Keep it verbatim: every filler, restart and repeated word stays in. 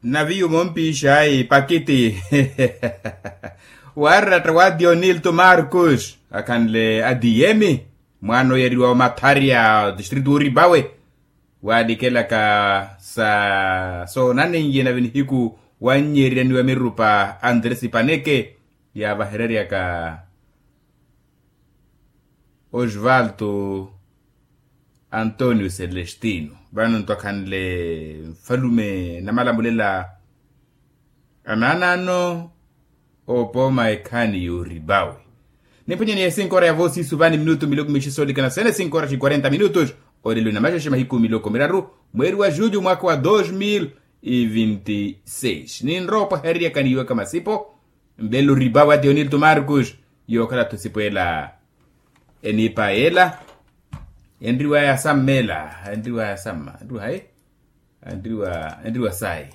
Naviyu mompiixayi pakiti. Warratta wa dionilto marcus akhanle adiyemi, mwaana oyeriwa omatharya distritu oripawe, waalikelaka sa soonaneiye nave nihiku wannyererya ni wa mirupa andres paneke, yaavahereryaka osvaldo antonio celestino. Vano nto akhanle nfalume namalamulela anaanaano, opooma ekhaani yooripawe. Niphwanyeni ya cinco hora ya vosi isu vani minutu miloko mixisolika na sene cinco hora xi quarenta minutu. Olelo na maxexe mahiku miloko miraru, mweeri wa julho mwaka wa dos mil e vinti seis ninrowa opwahereryaka niiwaka masipo. Mbelo ripawa tionilto marcus, yookhala-tho sipweela eniipa ela. Enriwa yasamma ela, enriwa yasamma enriwa hayi? Enriwa enriwa sayi.